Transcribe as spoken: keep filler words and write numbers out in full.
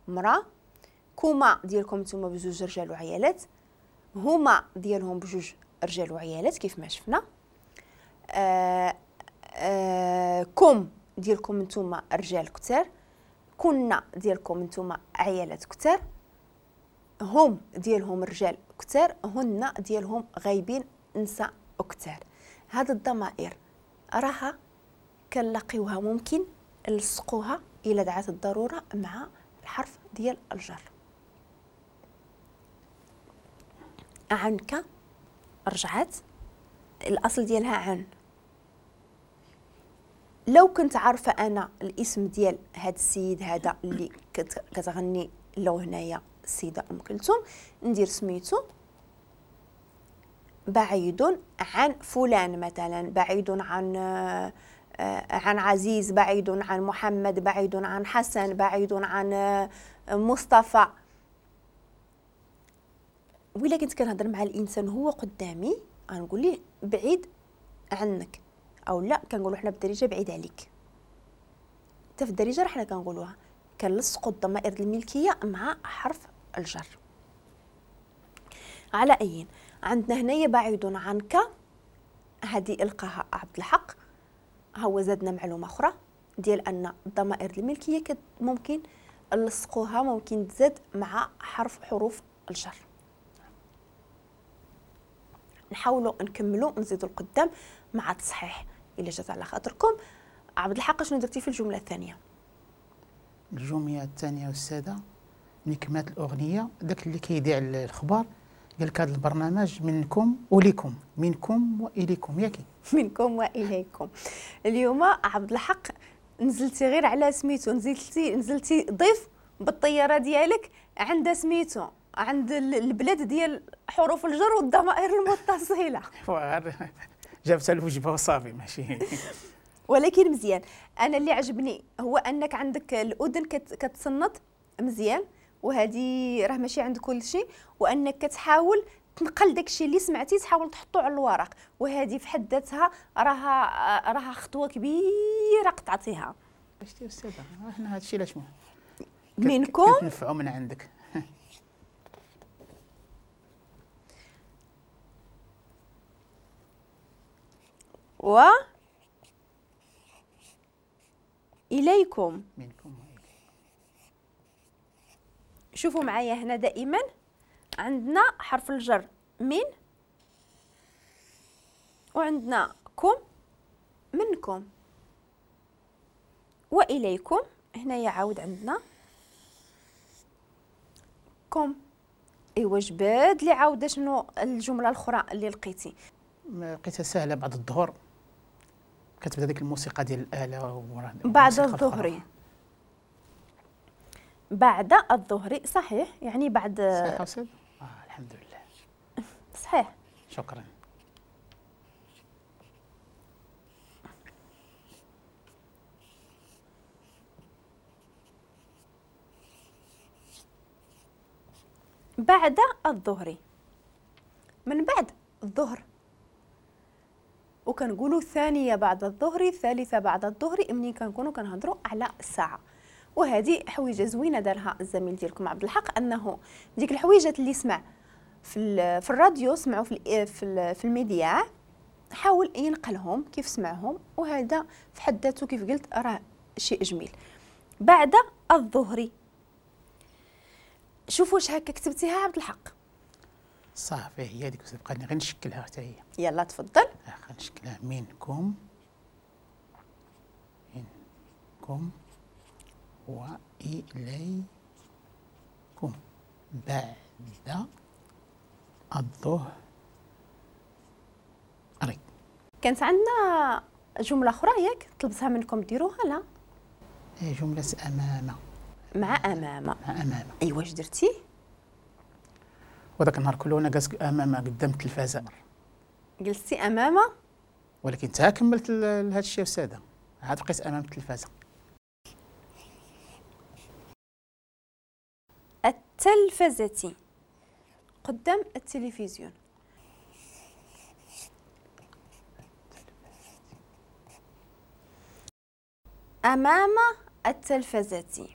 مرا، كما ديالكم نتوما بجوج رجال وعيالات، هما ديالهم بجوج رجال وعيالات كيف ما شفنا. آه آه كم ديالكم نتوما رجال كتار، كنا ديالكم نتوما عيالات كتار، هم ديالهم رجال كتار، هن ديالهم غايبين نساء كتار. هاد الضمائر راها كنلاقيوها ممكن نلصقوها الى دعت الضرورة مع الحرف ديال الجر. عنك رجعت الاصل ديالها عن. لو كنت عارفه انا الاسم ديال هاد السيد هذا اللي كتغني لو هنايا السيدة ام كلثوم، ندير سميتو بعيد عن فلان مثلا، بعيد عن عن عزيز، بعيد عن محمد، بعيد عن حسن، بعيد عن مصطفى. وإلا كنت كنهضر مع الانسان هو قدامي غنقول ليه بعيد عنك، او لا كنقولوا حنا بالدارجة بعيد عليك. حتى في الدارجة راه حنا كنقولوها، كنلصقوا الضمائر الملكية مع حرف الجر. على اي عندنا هنايا بعيد عنك، هذه القاها عبد الحق، ها هو زادنا معلومة اخرى ديال ان الضمائر الملكية ممكن نلصقوها، ممكن تزاد مع حرف حروف الجر. نحاولوا نكملوا نزيدوا القدام مع التصحيح الا جات على خاطركم. عبد الحق شنو درتي في الجملة الثانية؟ الجملة الثانية استاذه ملي كملت الاغنية داك اللي كيذيع الخبر قال لك هذا البرنامج منكم وليكم، منكم واليكم، ياكي منكم واليكم. اليوم عبد الحق نزلتي غير على سميتو، نزلتي نزلتي ضيف بالطيارة ديالك عند سميتو، عند البلاد ديال حروف الجر والضمائر المتصلة. جابتها الوجبة وصافي ماشي. ولكن مزيان، انا اللي عجبني هو انك عندك الاذن كتصنت مزيان، وهذه راه ماشي عند كل شيء، وانك كتحاول تنقل داكشي اللي سمعتي تحاول تحطو على الورق، وهذه في حد ذاتها راها راها خطوة كبيرة قطعتيها. شتي استاذه حنا هادشي علاش منكم كتنفعوا من عندك. و إليكم، منكم وإليكم. شوفوا معايا هنا دائما عندنا حرف الجر من، وعندنا كم منكم، وإليكم هنايا عاود عندنا كم. ايوا جبد لي عاود شنو الجملة الاخرى اللي لقيتي؟ لقيتها سهلة. بعد الظهر كتبدا ديك الموسيقى ديال الاله بعد الظهر، بعد الظهر صحيح، يعني بعد. صحيح أستاذ؟ آه الحمد لله صحيح، شكرا. بعد الظهر، من بعد الظهر، وكنقولوا الثانية بعد الظهر، الثالثة بعد الظهر، منين كنكونوا كنهضروا على الساعة. وهذه حويجه زوينة دارها الزميل ديالكم عبد الحق، انه ديك الحويجات اللي سمع في في الراديو، سمعوا في في, في الميديا، حاول ينقلهم كيف سمعهم، وهذا في حد ذاته كيف قلت راه شيء جميل. بعد الظهر، شوفوا واش هكا كتبتيها عبد الحق؟ صافي هي هذيك، بقى غير نشكلها حتى هي. يلا تفضل. غنشكلها منكم، منكم وإليكم بعد الظهر. كانت عندنا جملة أخرى ياك طلبتها منكم ديروها؟ لا، جملة أمام، مع أمام، مع أمام. أيوا واش درتي؟ وذاك النهار كله أنا جالس أمام قدام التلفازة. جلستي أمام؟ ولكن تا كملت هذا الشيء أستاذة، عاد بقيت أمام التلفازة. التلفزة، قدام التلفزيون. أمام التلفزة.